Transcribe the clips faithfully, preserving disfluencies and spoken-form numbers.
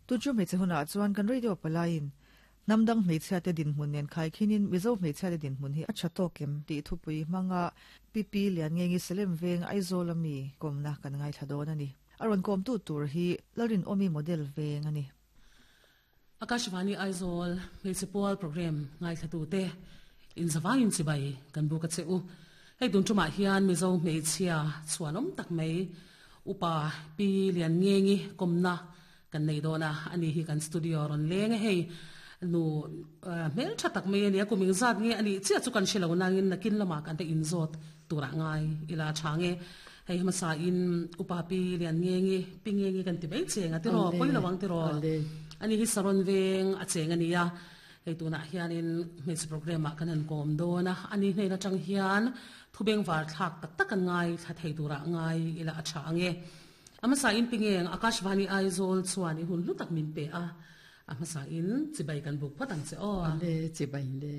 Tu chu hmeichhe hunah chuan kan radio palaiin hnamdang hmeichhia te dinhmun nen khaikhinin Mizo hmeichhia te dinhmun hi a tha tawk em tih thupui hmanga Pi Pi Lianngengi Salem Veng Aizawl ami kawmna kan ngaithla dawn a ni. A rawn kawmtu tur hi Lalrinawmi model veng a ni. Akashvani Aizawl hmeichhe pual program ngaithlatute inzawangin chibai kan buk a che u. Hei tun tumah hian Mizo hmeichhia chhuanawm tak mai Upa Pi Lianngengi kawmna kan nei dawn a, ani hi kan studio rawn leng a hei nu hmel tha tak mai a ni a, kum engzat nge a nih chiah chu kan hre lo nangin nakin lamah kan te inzawt turah ngai ila tha nge. Hei hmasa in Upa Pi Lianngengi, Pi Ngengi kan ti mai cheng a tiraw, pawi lo ang tiraw. Ani hi Saron veng a cheng a ni a, hei tunah hianin hmeichhe program ah kan han kawm dawn a, ani hnen atang hian thubeng var thlak tak tak an ngai thla thei turah ngai ila a tha ange. A hmasa in Pi Ngeng Akashvani Aizawl chuan i hun hlu tak min pe a, a hmasa in chibai kan buk phawt ang che aw. Le chibai le.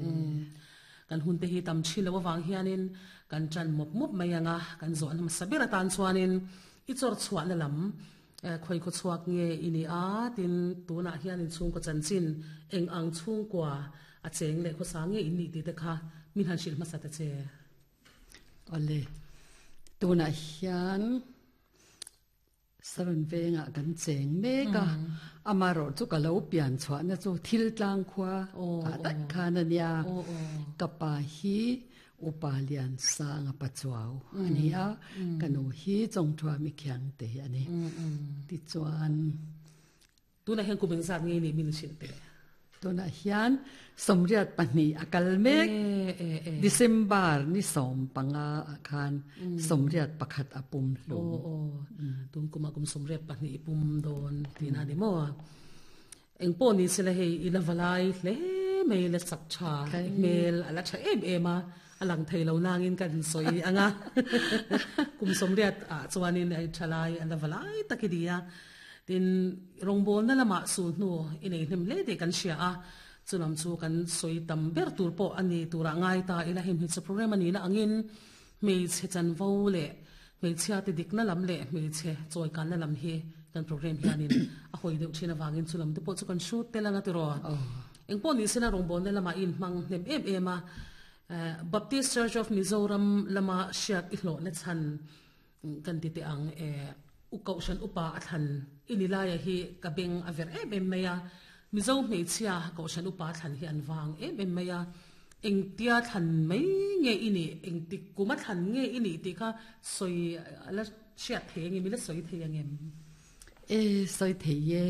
Kan hun te hi tam thin lo awang hianin kan tan mawp mawp mai anga kan zawh an hmasa ber atan chuanin i chawr chhuahna lam khoi khaw chhuak nge i ni a tin tunah hian in chhungkaw chanchin eng ang chhungkua a cheng leh khawsa nge in nih tih te kha min han hrilh hmasa ta che. Awle tunah hian Saron vengah kan cheng mek a, amarawh chu ka lo pian chhuahna chu thil tlang khua ah daih khan a nia. Ka pa hi Upa Lian Sanga Pachuau a ni a, ka nu hi Chawngthua Mikhiang te hi a ni. Tichuan Tunah hian kum engzat nge ni min hrilh teh? Tunah hian sawmriat pahnih a kal mek. December ni sawm panga ah khan sawmriat pakhat a pum hlum. Aw aw, tun kumah kum sawmriat pahnih i pum dawn tihna a ni maw? Eng pawh ni sela hei i la valai hle mai la chak tha i hmel a la tha em em a, a lang thei lo nangin kan sawi ang a. Kum sawmriat ah chuanin a tha lai a la valai tak i ni a. Tin, rawngbawlna lamah sul hnu i nei hnem hle tih kan hria a, chulam chu kan sawi tam ber tur pawh a ni turah ngai ta ila hei hmeichhe program a nihna angin hmeichhe chanvo leh hmeichhia te dikna lam leh hmeichhe chawikanna lam hi kan program hianin a hawi deuh thin avangin chulam te pawh chu kan hrut tel anga tiraw. Engpawh ni sela rawngbawlna lamah i inhmang hnem em em a, Baptist Church of Mizoram lama hriat i hlawhna chhan kan ti teh ang e, u Kohhran upa a thlan i ni laia hi ka beng a ver em em mai a, Mizo hmeichhia Kohhran upa a thlan hi an vang em em mai a, engtia thlan mai nge i nih, engtik kum a thlan nge i nih tih kha sawi a la hriat thei ang em, i la sawi thei ang em? E, sawi thei e.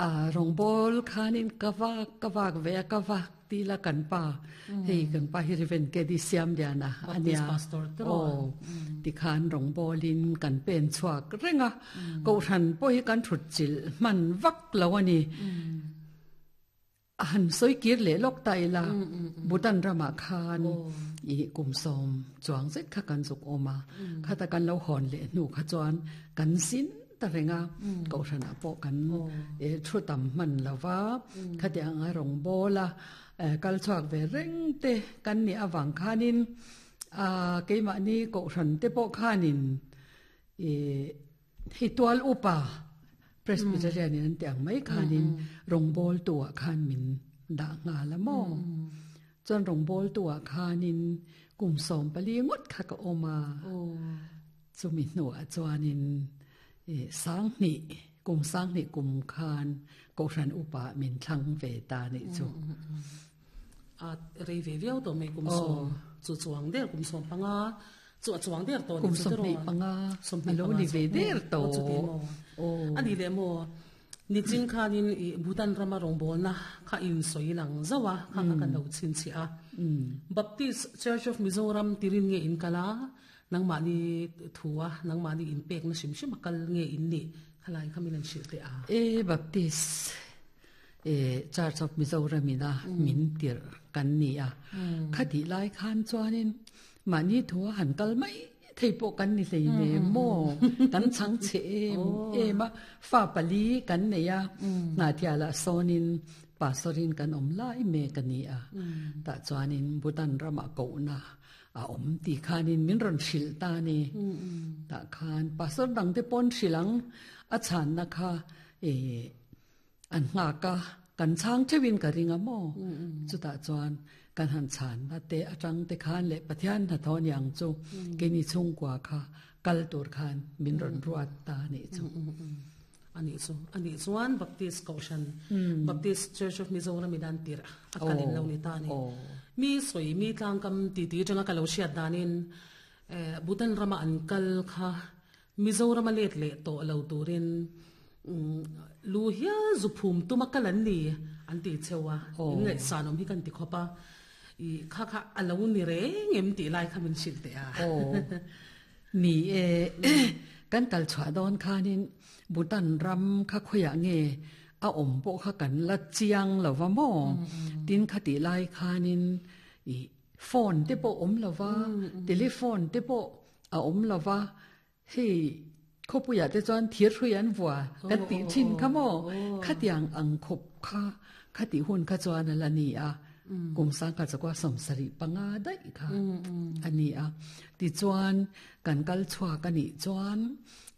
A rawngbâwl khanin ka vak ka vak ve a, ka vak ti la kan pa, hei kan pa hi Reverend K D Siamliana a nia, aw tikhan rawngbâwlin kan pen chhuak reng a, Kohhran pawh hi kan thut chilh hman vak lo a ni. A han sawi kir leh lawk ta ila, Bhutan ramah khan i kum sawm chuang zet kha kan zuk awm a, khata kan lo hawn leh hnu kha chuan kan zin ta reng a, Kohhranah pawh kan thu tam hman lo va, khatiang anga rawngbâwl a kal chhuak ve reng te kan nih avang khanin keimahni Kohhran te pawh khanin i hei tual upa Presbyterian in an ti ang mai khanin rawngbawltu ah khan min dah nghal a maw? Chuan rawngbawltu ah khanin kum sawm pali ngawt kha ka awm a. Chumi hnuah chuanin sanghnih kum sanghnih kum khan Kohhran upa min thlang ve ta nih chu. A rei ve viau tawh mai kum sawm chu chuang der kum sawm panga chu a chuang der tawh kum sawmhnih panga a lo ni ve der tawh a ni leh maw nichin khanin i Bhutan rama rawngbawlna kha in sawi lang zauh a kha kha kan lo chhinchhiah a Baptist Church of Mizoram tirin nge in kal a nangmahni thu a nangmahni in pekna hrim hrim a kal nge in nih khalai kha min an hrilh teh a e Baptist e Church of Mizoram ina min tirh kan ni a khatih lai khan chuanin mahni thu a han kal mai thei pawh kan ni hlei ne maw kan chang che em em a fa pali kan nei a hnathialah sawnin pastorin kan awm lai mek a ni a tah chuanin Bhutan ramah kohna a awm tih khanin min rawn hrilh ta a ni tah khan pastor dang te pawn hrilh ang a chhanna kha E an nga ka kan chang thewin ka ringa mo chuta chuan kan han chan na te atang te khan le Pathian na thon yang chu ke ni chung kwa kha kal tur khan min ron ruat ta ni chu ani chu ani chuan Baptist Koshan Baptist Church of Mizoram idan tir akalin lo ni ta ni mi soi mi tlang kam ti ti tanga kalo siat danin Bhutan rama an kal kha Mizoram let le to lo turin lu hial zuphum tumakalan ni an ti chewa ngai sanom hi kan ti khopa i kha kha alo ni re ngem ti lai kha min sil te a o ni e kan kal chwa don khanin Bhutan ram kha khoya nge a om po kha kan la chiang lo wa mo tin khati lai khanin i phone te po om lo wa telephone te po a om lo wa hei khopuya te chuan thir huyan wa kan ti chin kha mo khatiang ang khop kha khati hun kha chuan ala ni a kum sang ka chakwa samsari panga dai kha ani a ti chuan kan kal chwa ka ni chuan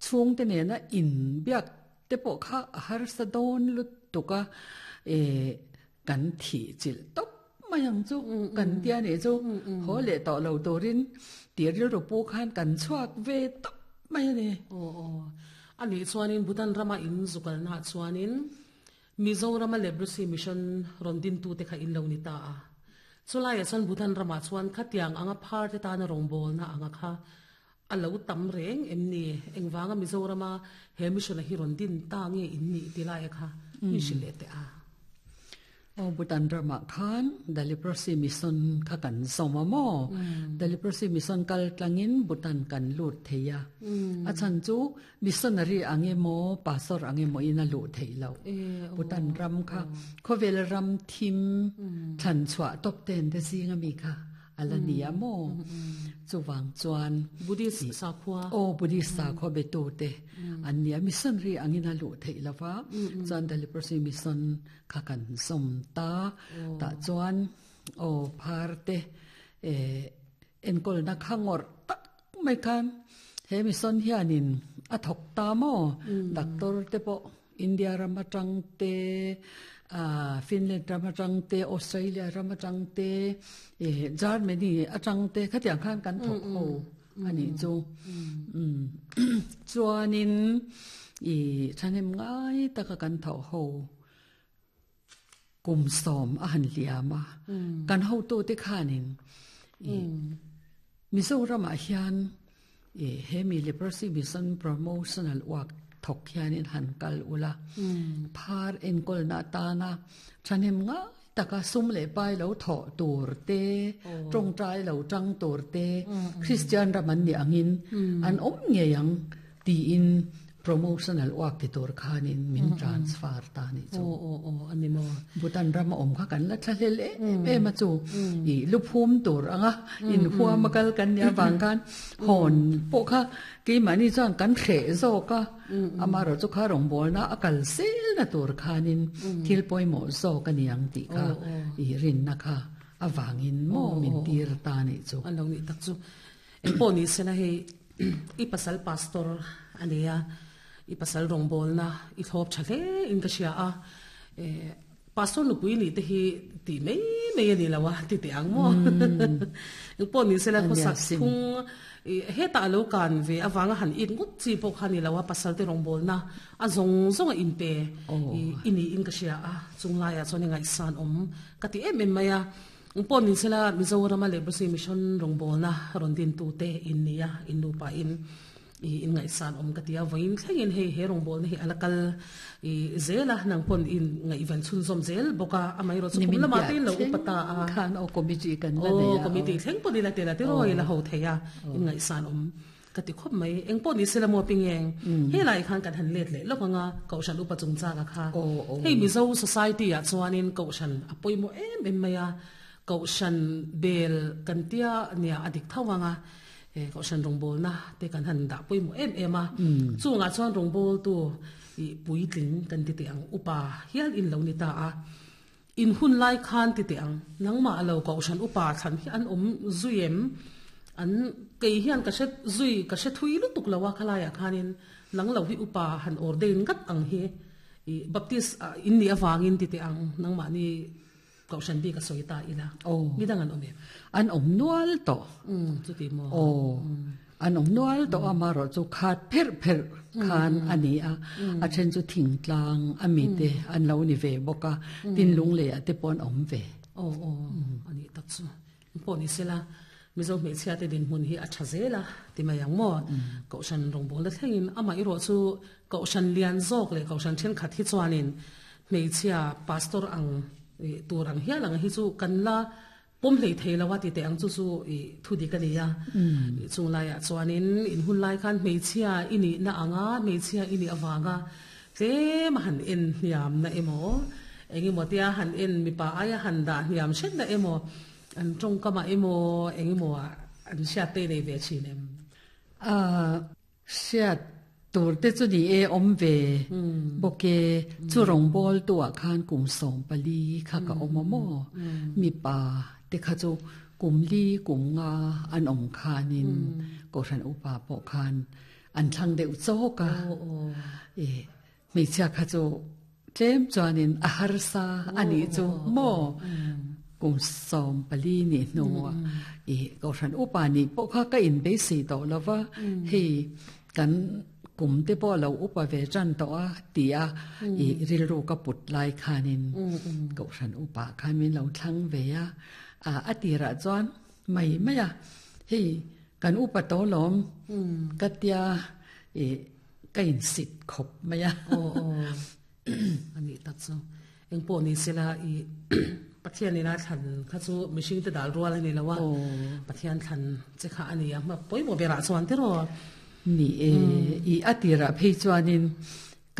chung te ne na in biak te po kha har sa don lut tuka e kan thi chil top mayang chu kan tia ne chu ho le to lo torin tir ru pu khan kan chuak ve top mai ne o o ani chuanin Bhutan rama in zukal na chuanin Mizoram Leprosy Mission rondin tu te kha in lo ni ta a chulai chuan Bhutan rama chuan khatiang anga phar te ta na rongbol na anga kha alo tam reng emni engwanga Mizorama he mission a hi rondin ta nge in ni tilai kha mi shile te a o Bhutan rama khan the Leprosy Mission kha kan soma mo the Leprosy Mission kal tlangin Bhutan kan lut theya a chan chu missionary ange mo pastor ange mo ina lut theilo Bhutan ram kha khovel ram thim than chwa top ten te singa mi kha alania mo chuwang chuan Buddhist sakhwa o Buddhist sakhwa be to te ania missionary angina lu theilawa chuan the Leprosy Mission kha kan som ta ta chuan o pharte e enkol na khangor tak mai khan he mission hianin a thok ta mo doctor te po India rama tang te a Finland rama tang te Australia rama tang te e Germany atang te khatiang khan kan thok ho ani chu um chuanin i thanem ngai taka kan tho ho kum som a han liama kan ho to te khanin i Mizoram a hian e hemi Leprosy Mission promotional work thok hianin han kal ula phar enkol na ta na thanem nga taka sum le pai lo tho tur te tong trai lo tang tur te Christian raman ni angin an om nge yang ti in promotional work ti tur khanin min transfer ta ni chu o o o ani mo Bhutan ram om kha kan la thlel e e ma chu i luphum tur anga in huwa makal kan ya wang kan hon po kha ki mani chuan kan khe zo ka amaro chu kha rong bol na akal sel na tur khanin thil poi mo zo ka niang ti kha i rin na kha awangin mo min tir ta ni chu an lo ni tak chu e po ni sena he i pasal pastor ania i pasal rong bol na i thop thale in ka sia a e pastor nu pui ni te hi ti mei mei ani lawa ti te ang mo eng po ni sela ko sak phung he ta lo kan ve awanga han in ngut chi po khani lawa pasal te rong bol na a zong zong in pe ini in ka sia a chunglai a choni ngai san om ka ti em em maya eng po ni sela Mizoram Leprosy Mission rong bol na ron din tu te in nia in nu pa in i in ngai san om katia voin thlengin hei he rong bol na hi alakal i zela nang pon in ngai van chun zom zel boka amai ro chu kum lama te lo upata a khan o committee kan la ne committee thleng pon ila te la te roi la ho theya in ngai san om kati khop mai eng pon ni sela mo pingeng he lai khan kan han let le lokanga kaushan upa chung cha ka kha hei Mizo society a chuanin kaushan apoimo em em maya kaushan bel kantia nia adik thawanga e kaushan rongbol na te kan han da poimo em ema chunga chuan rongbol tu i puitling kan ti te ang upa hial in lo ni ta a in hun lai khan ti te ang nangma alo kaushan upa than hi an om zuiem an kei hian ka se zui ka se thui lu tuk lawa khalaya khanin nang lo hi upa han ordain ngat ang hi I Baptist in ni awangin ti te ang nangmah ni kohhran bik a sawi ta ila. Oh. Midang an awm em? An awm nual tawh. Um chuti maw? Oh. An awm nual tawh a marawh chu khat pherh pherh khan a ni a. A then chu thingtlang a mi te an lo ni ve bawk a. Tin lunglei ah te pawh an awm ve. Oh oh a nih tak chu. Pawh ni sela Mizo hmeichhia te dinhmun hi a tha zel a ti mai ang maw? Kohhran rawngbawlna thlengin amah erawh chu kohhran lian zawk leh kohhran thenkhat hi chuanin hmeichhia pastor ang tur ang hial ang hi chu kan la pawm hlei thei lo a ti teh ang chu chu i thu dik a ni a. Chung laiah chuanin in hun lai khan hmeichhia i nihna anga hmeichhia i nih avanga tlem a han en hniamna emaw engemaw tia han en mipa aia han dah hniam hretna emaw an tawngkamah emaw engemaw an hriat te nei ve thin em? Ah, hriat tur te chu ni e awm ve bawk e, chu rawngbâwl tuah khan kum sawm pali kha ka awm a maw? Mipa te kha chu kum li kum nga an awm khanin Kohhran upa pawh khan an thlang deuh chawk a, e hmeichhia kha chu tlem chuanin a harsa a nih chu maw? Kum sawm pali nih hnuah i Kohhran upa nih pawh kha ka inbeisei tawh lo va, hei kan kum te pawh a lo upa ve tan tawh a ti a, i rilru ka put lai khanin Kohhran upa khan min lo thlang ve a, a tirah chuan mai mai a, hei kan upa tawh lawm ka tia i ka insit khawp mai a. Aw aw a nih tak chu. Engpawh ni sela i Pathian ina thlan kha chu mihring te dal rual a ni lo a, Pathian thlan che kha a ni a, pawimawh berah chuan tiraw? Ni e, i a tirah phei chuanin